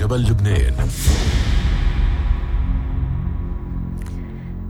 جبل لبنان.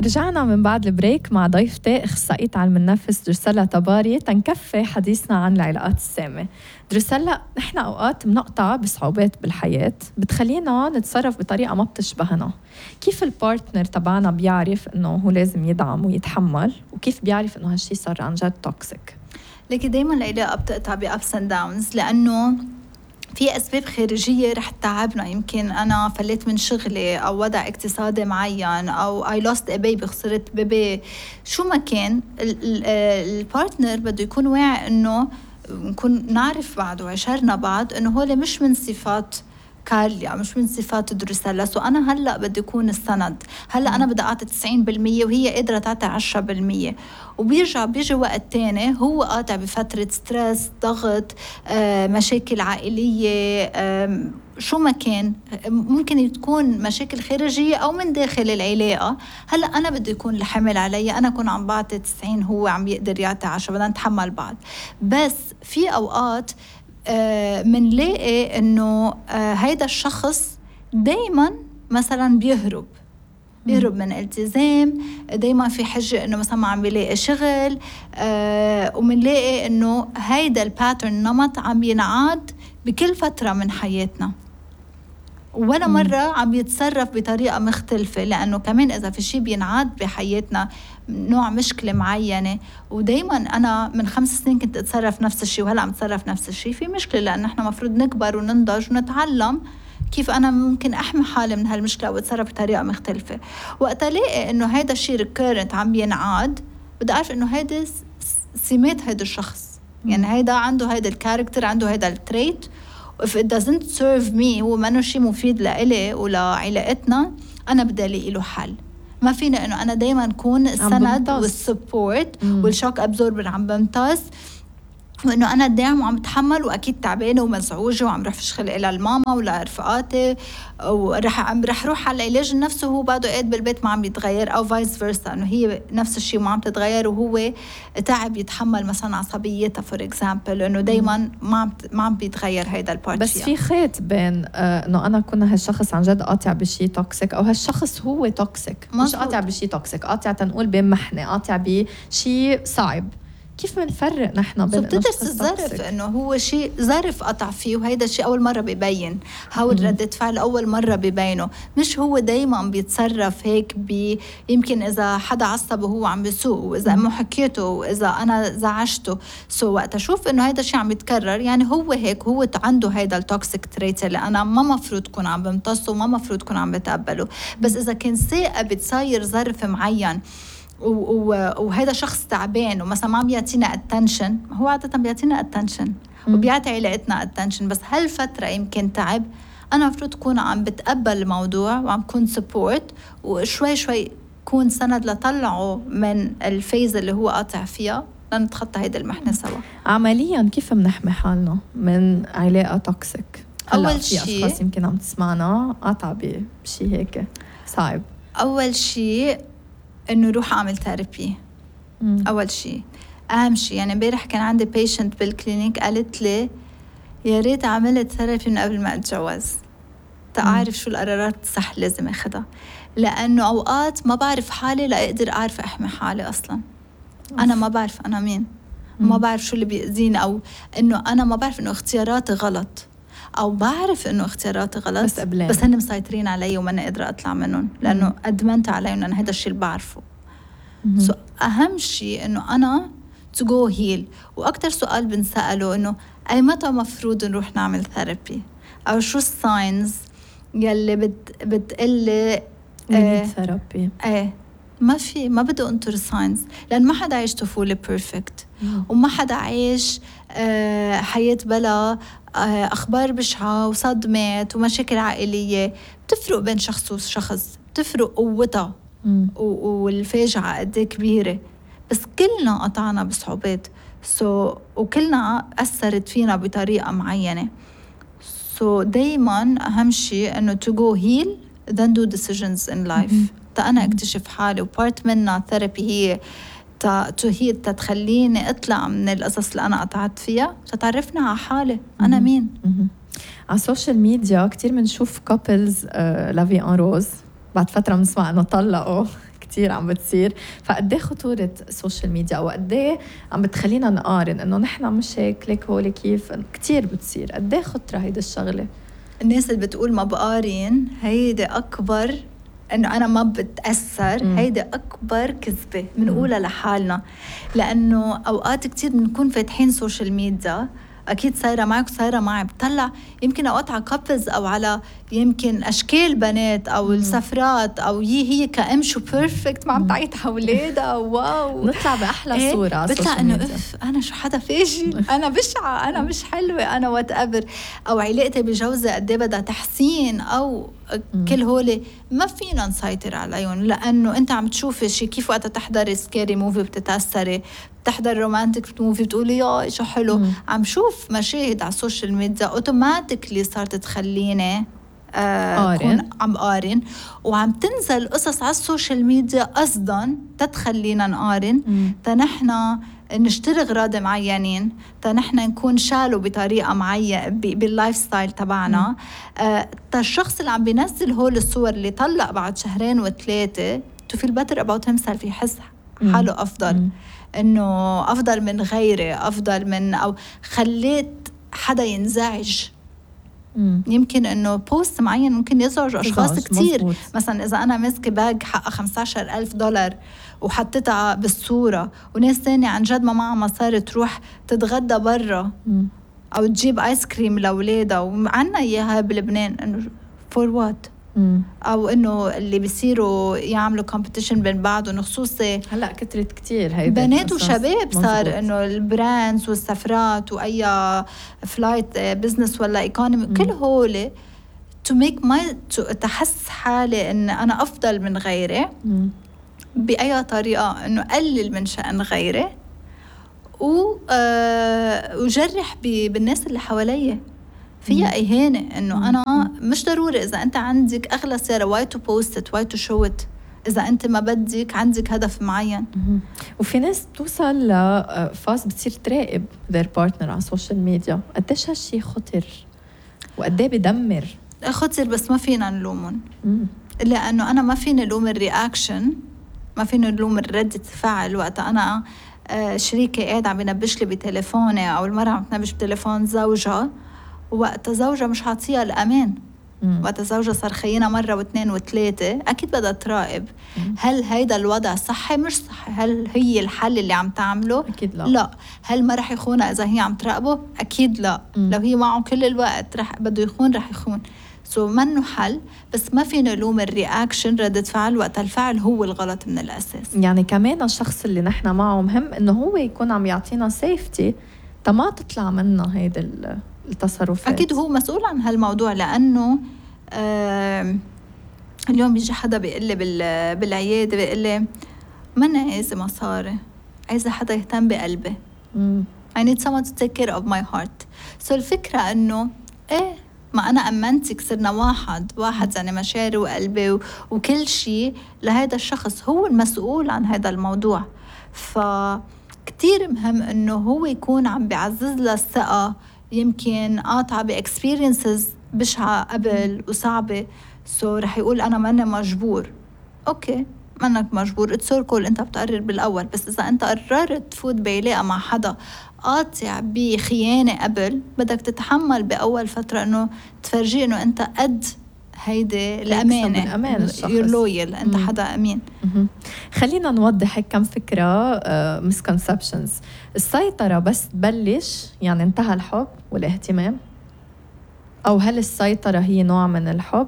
رجعنا من بعد البريك مع ضيفتي اخصائية علم النفس دروسيلا طباري تنكفي حديثنا عن العلاقات السامة. دروسيلا، نحن اوقات بنقطع بصعوبات بالحياة بتخلينا نتصرف بطريقة ما بتشبهنا. كيف البارتنر تبعنا بيعرف انه هو لازم يدعم ويتحمل، وكيف بيعرف انه هالشي صار عن جد توكسيك؟ لكن دايما العلاقة بتقطع بأبس اند داونز، لأنه في أسباب خارجية رح تتعبنا. يمكن أنا فليت من شغلي أو وضع اقتصادي معين أو I lost a baby، خسرت بيبي، شو ما كان. البارتنر بده يكون واعي إنه نكون نعرف بعض وعشرنا بعض إنه هول مش من صفات كارليا، مش من صفات دروسيلا. سو أنا هلأ بدي يكون السند، هلأ أنا بدي أعطي 90% وهي قادرة تعطي 10%، بيجي وقت تاني هو قاطع بفترة ستريس، ضغط، مشاكل عائلية، شو ما كان. ممكن تكون مشاكل خارجية أو من داخل العلاقة. هلأ أنا بدي يكون الحمل علي، أنا كون عم بعطي 90 هو عم يقدر يعطي 10، بدنا نتحمل بعض. بس في أوقات منلاقي إنه هيدا الشخص دايما مثلا بيهرب من التزام، دايما في حجة إنه مثلا ما عم بيلاقي شغل، ومنلاقي إنه هيدا الباترن نمط عم ينعاد بكل فترة من حياتنا، ولا مرة عم يتصرف بطريقة مختلفة. لأنه كمان إذا في شيء بينعاد بحياتنا نوع مشكلة معينة، ودايما أنا من 5 سنين كنت أتصرف نفس الشيء وهلأ عم أتصرف نفس الشيء، في مشكلة. لأن إحنا مفروض نكبر وننضج ونتعلم كيف أنا ممكن أحمي حالي من هالمشكلة وأتصرف بطريقة مختلفة. وقت ألاقي إنه هيدا الشيء ريكيرنت عم بينعاد، بدي أعرف إنه هيدا سمات هيدا الشخص، يعني هيدا عنده هيدا الكاركتر، عنده هيدا التريت. if it doesn't serve me، هو منه شيء مفيد لإلي ولعلاقتنا، أنا بدي ألاقي له حل. ما فينا إنه أنا دايما أكون السند والسبورت والشوك أبزوربر عم بمتص، وإنه أنا دايم وعم بتحمل وأكيد تعبانة ومزعوجة وعم رح فشخل إلى الماما ولا رفقاتي، ورح روح على العلاج النفسي وهو بعده قاعد بالبيت ما عم يتغير، أو فايس فيرسا، إنه هي نفس الشيء ما عم تتغير وهو تعب يتحمل مثلا عصبيتها فور إكزامبل، إنه دايما ما عم بيتغير هيدا البارت. بس في خيط بين إنه أنا كنا هالشخص عن جد قاطع بشيء توكسيك، أو هالشخص هو توكسيك، مش قاطع بشيء توكسيك، قاطع تنقول بمحنة، قاطع بشيء صعب. كيف منفرق نحن بين بتدرس الظرف؟ انه هو شيء ظرف قطع فيه، وهيدا الشيء اول مره ببين، هاول ردة فعل اول مره ببينه، مش هو دايما بيتصرف هيك. يمكن اذا حدا عصبه هو عم بيسوق، واذا امه حكيته، واذا انا زعجته، وقت اشوف انه هيدا الشيء عم يتكرر، يعني هو هيك، هو عنده هيدا التوكسيك تريت اللي انا ما مفروض كون عم بمتصه وما مفروض كون عم بتقبله. بس اذا كان ثاقب بتصير ظرف معين وهذا شخص تعبان ومثلا ما بيعطينا attention، هو عادة بيعطينا attention وبيعطي علاقتنا attention، بس هالفترة يمكن تعب، أنا مفروض أكون عم بتقبل الموضوع وعم كون support، وشوي شوي كون سند لطلعه من الفيز اللي هو قاطع فيها لنتخطى هيدا المحنة سوا. عمليا كيف منحمي حالنا من علاقة توكسيك؟ أول شيء في أشخاص يمكن عم تسمعنا قاطع بشي هيك صعب. أول شيء إنه روح أعمل ثيرابي. أول شيء أهم شيء. يعني امبارح كان عندي بيشنت بالكلينيك قالت لي يا ريت عملت ثيرابي من قبل ما أتجوز، تعرف شو القرارات الصح لازم أخدها، لأنه أوقات ما بعرف حالي لا أقدر أعرف أحمي حالي أصلاً. أنا ما بعرف أنا مين، ما بعرف شو اللي بيأذيني، أو إنه أنا ما بعرف إنه اختياراتي غلط، أو بعرف إنه اختياراتي غلط بس هن مسيطرين علي وما أنا قادرة أطلع منهم، لأنه أدمنت عليهم أنا هذا الشيء اللي بعرفه. أهم شيء إنه أنا to go heal. وأكتر سؤال بنسأله إنه أي متى مفروض نروح نعمل ثيرابي، أو شو الساينز يلي بتقلي ثيرابي. ما بدي أنطر ساينز، لأن ما حدا عايش طفولة بيرفكت، وما حدا عايش حياة بلا أخبار بشعة وصدمات ومشاكل عائلية. بتفرق بين شخص وشخص، بتفرق قوتها والفاجعة قد كبيرة، بس كلنا قطعنا بصعوبات وكلنا أثرت فينا بطريقة معينة. دايما أهم شيء إنه to go heal then do decisions in life. أنا أكتشف حالي، وبارت منها ثيرابي هي تتخليني أطلع من القصص اللي أنا قطعت فيها، تتعرفنا على حالي أنا مين. على السوشيال ميديا كتير منشوف كابلز لافي ان روز، بعد فترة بنسمع انه طلقوا كتير عم بتصير. فقديه خطورة السوشيال ميديا او قديه عم بتخلينا نقارن انه نحن مش هيك ليك هولي كيف كتير بتصير؟ قديه خطرة هيدا الشغلة؟ الناس اللي بتقول ما بقارن هيدا أكبر، إنه أنا ما بتأثر، هيدا أكبر كذبة بنقولها لحالنا. لأنه أوقات كتير بنكون فاتحين سوشيال ميديا، أكيد صايرة معك وصايرة معي، بطلع يمكن أوقات على كابلز أو على يمكن أشكال بنات أو السفرات أو هي كأم شو بيرفكت ما عم تعيط أولادها واو، نطلع بأحلى صورة على بطلع السوشيال إنه ميديا. أنا شو حدا فاشل، أنا بشعة، أنا مش حلوة، أنا واتقبر، أو علاقتي بجوزي قديه بدها تحسين، أو كل هولي ما فينا نسيطر عليهم. لأنه أنت عم تشوفي شي كيف وقت تحضري سكاري موفي بتتأثري، بتحضر رومانتك موفي بتقولي يا شو حلو. عم شوف مشاهد على السوشيال ميديا اوتوماتيكلي صارت تخليني أكون عم قارن، وعم تنزل قصص على السوشيال ميديا قصدا تتخلينا نقارن، تنحنا نشتري أغراض معينين، تنحنا نكون شالو بطريقة معينة باللايف ستايل تبعنا. الشخص اللي عم بينزل هول الصور اللي طلق بعد 2 و3 to feel better about himself، يحس حاله أفضل، إنه أفضل من غيره، أفضل من، أو خليت حدا ينزعج. يمكن إنه بوست معين ممكن يزعج أشخاص كتير. مزبوط. مثلا إذا أنا ماسكة باج حقها $15,000 وحطيتها بالصورة، وناس تانية عن جد ما معها مصاري تروح تتغدى برا أو تجيب آيس كريم لأولادها، وعنا إياها بلبنان، إنه for what؟ أو إنه اللي بيصيروا يعملوا competition بين بعضهم، خصوصي هلأ كترت كتير هيدا بنات وشباب. صار إنه البراندز والسفرات وأي فلايت بزنس ولا إيكونومي كل هولي to make my تحس حالي إن أنا أفضل من غيري بأي طريقة، إنه قلل من شأن غيري وجرح بالناس اللي حواليه فيها إهانة. إنه أنا مش ضروري إذا أنت عندك أغلى سيارة why to post it why to show it، إذا أنت ما بدك عندك هدف معين. وفي ناس توصل لفاز بتصير تراقب their partner على السوشيال ميديا. قديش هالشي خطر وقديه بدمر؟ خطر، بس ما فينا نلومون. لأنه أنا ما فيني لوم الرياكشن، ما فيني لوم الردة الفعل. وقت أنا شريكي قاعد عم بنبش لي بتليفوني، أو المرأة عم تنبش بتليفون زوجها، وقت زوجها مش عاطيها الأمان، وقت زوجها صار خينا مرة و2 و3، أكيد بدها تراقب هل هيدا الوضع صحي مش صحي، هل هي الحل اللي عم تعمله؟ أكيد لا. لا. هل ما رح يخونها إذا هي عم تراقبه؟ أكيد لا. لو هي معه كل الوقت رح بده يخون، رح يخون. منه حل، بس ما فينا نلوم الرياكشن، ردة فعل، وقت الفعل هو الغلط من الأساس. يعني كمان الشخص اللي نحن معه مهم إنه هو يكون عم يعطينا سيفتي تما تطلع منا هيدا التصرفات. أكيد هو مسؤول عن هالموضوع. لأنه اليوم بيجي حدا بيقول لي بالعيادة، بيقول لي ما أنا عايزة مصاري، عايزة حدا يهتم بقلبي. I need someone to take care of my heart. الفكرة إنه إيه، ما أنا أمنتك، صرنا واحد يعني مشاعري وقلبي وكل شيء لهذا الشخص، هو المسؤول عن هذا الموضوع. فكتير مهم إنه هو يكون عم بيعزز له الثقة. يمكن قاطعة بإكسبيرينسز بشعة قبل وصعبة، رح يقول أنا ما أنا مجبور. أوكي، ما أنك مجبور، اتسوركول، أنت بتقرر بالأول. بس إذا أنت قررت تفوت بعلاقة مع حدا قاطع بخيانة قبل، بدك تتحمل بأول فترة إنه تفرجي إنه أنت قد هيدي الأمانة، you're loyal، أنت حدا أمين. خلينا نوضح هيك كم فكرة misconceptions. السيطرة بس تبلش يعني انتهى الحب والاهتمام، أو هل السيطرة هي نوع من الحب،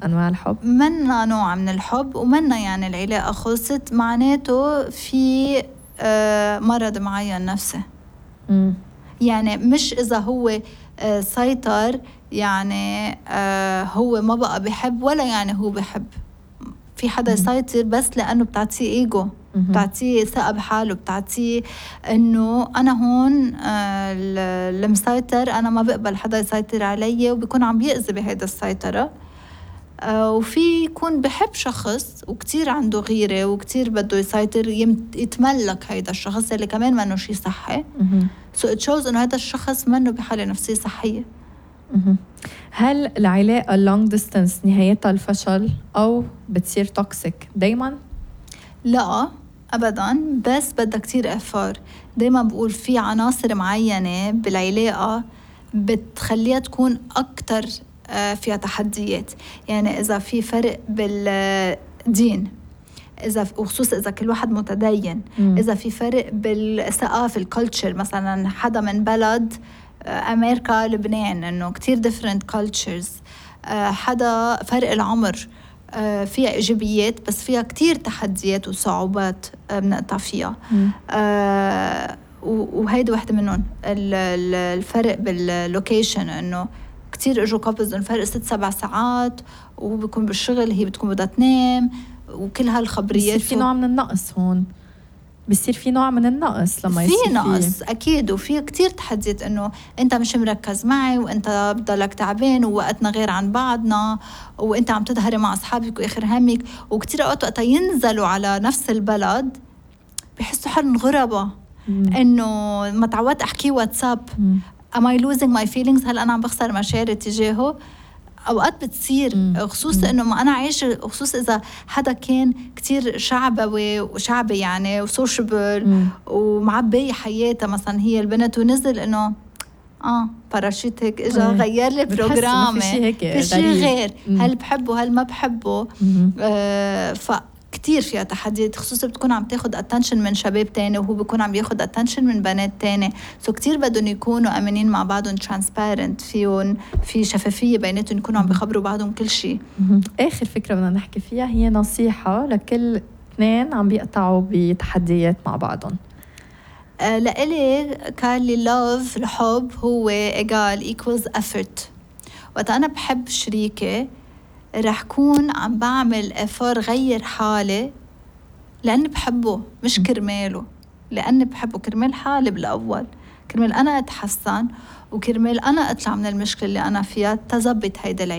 أنواع الحب؟ منا نوع من الحب، ومنا يعني العلاقة خلصت، معناته في مرض معين نفسي. يعني مش إذا هو سيطر يعني هو ما بقى بيحب، ولا يعني هو بيحب. في حدا يسيطر بس لأنه بتعطيه إيجو، بتعطيه ثقة بحاله، بتعطيه إنه أنا هون المسيطر، أنا ما بقبل حدا يسيطر علي، وبيكون عم بيأذي بهيدا السيطرة. وفي يكون بحب شخص وكتير عنده غيرة وكتير بده يسيطر، يتملك هيدا الشخص اللي كمان منه شي صحي. So it shows إنه هذا الشخص منه بحالة نفسية صحية. هل العلاقة long distance نهايتها الفشل أو بتصير توكسيك دايما؟ لا أبداً، بس بدها كتير إفار. دايما بقول في عناصر معينة بالعلاقة بتخليها تكون أكتر فيها تحديات. يعني إذا في فرق بالدين، وخصوصا إذا كل واحد متدين، إذا في فرق بالثقافة الكولتشر، مثلا حدا من بلد أمريكا لبنان، إنه كتير different cultures، حدا فرق العمر، فيها إيجابيات بس فيها كتير تحديات وصعوبات بنقطع فيها. وهيدا واحدة منهم. الفرق باللوكيشن، إنه كتير إجوا كابلز إنه فرق 6-7 ساعات وبيكون بالشغل، هي بتكون بدها تنام، وكل هالخبريات. بصير في نوع من النقص هون، بصير في نوع من النقص لما يصير في نقص أكيد. وفي كتير تحديات إنه أنت مش مركز معي، وأنت بضلك تعبان، ووقتنا غير عن بعضنا، وأنت عم تظهري مع أصحابك وآخر همك. وكتير أوقات وقتا ينزلوا على نفس البلد بيحسوا حالهم غربة، إنه ما تعودت أحكي واتساب. Am I losing my feelings؟ هل أنا عم بخسر مشاعري تجاهه؟ أوقات بتصير، خصوصا إنه ما أنا عايش، خصوصا إذا حدا كان كتير شعبي يعني وسوشيبل ومعبي حياته، مثلا هي البنت، ونزل إنه باراشوت هيك إجا غير لي بروجرامي، في شيء غير. هل بحبه هل ما بحبه؟ كتير فيها تحديات، خصوصا بتكون عم تاخد attention من شباب تاني، وهو بيكون عم ياخد attention من بنات تاني. كتير بدهم يكونوا أمينين مع بعضهم، transparent، فيهم في شفافية بيناتهم، يكونوا عم بيخبروا بعضهم كل شيء. آخر فكرة بدنا نحكي فيها هي نصيحة لكل اثنين عم بيقطعوا بتحديات مع بعضهم. لإلي قال لي love، الحب هو equals effort. وقت أنا بحب شريكي رح كون عم بعمل إفار غير حالي لأني بحبه، مش كرماله، لأني بحبه كرمال حالي بالأول، كرمال أنا أتحسن، وكرمال أنا أطلع من المشكلة اللي أنا فيها تزبط هيدا العلاقة.